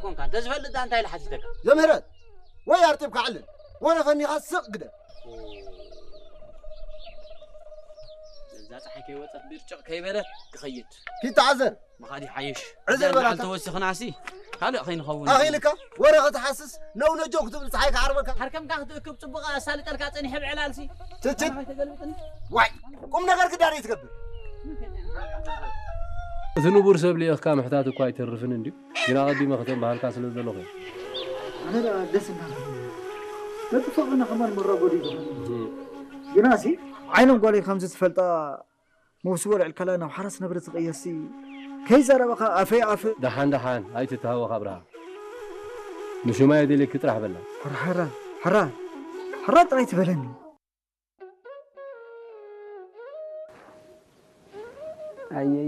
ኮንካ እንተዝፈልጥ ዳ እንታይ ኢለ ሓቲተካ? ዘምህረት ወይ ኣርጢብካ ዕልል፣ ወረ ፈኒኻ ስቕ ግደ። እዛ ጸሓይ ከይወጸት ብርጭቕ ከይበለት ክኸይድ። ኪተዓዘር። ምኻድ ይሓይሽ። ዕዘር እዛ በላታ። ተወሲኽናሲ ካልእ ከይንኸውን። ኣኺልካ ወረ ክትሓስስ፣ ነው ነጆ ክትብል ጸሓይ ክዓርበካ። ሓርከምካ ክትእክብ ጽቡቕ ኣሳልጠልካ ጸኒሐ ብዕላልሲ። ትችት። ከይተገልብጥኒ። ዋይ፣ ቁም ነገር ክዳር ትገብር። እቲ ንቡር ሰብ ልኢኽካ ምሕታት እኳ ኣይተርፍን እንድዩ። ግና ኣቐዲመ ከተንባሃልካ ስለ ዘለኹ እየ። ኣነ ደኣ ደስ እናበለኒ። በቲ ፍቕርና ከማን መራጎዲ ዝኾነ። ግናሲ ዓይኖም ጓለይ ከምዚ ትፈልጣ መውስቦ ልዕል ከላ ናብ ሓራስ ነብሪ ትቕየርሲ ከይዘረበኻ ኣፈይ ኣፍ። ደሓን ደሓን ኣይትተሃወኽ ኣብርሃ። ንሹማይ የደልየኪ ጥራሕ በላ። ሕራ፣ ሕራ፣ ሕራ፣ ሕራ ጥራይ ትበለኒ። ኣየ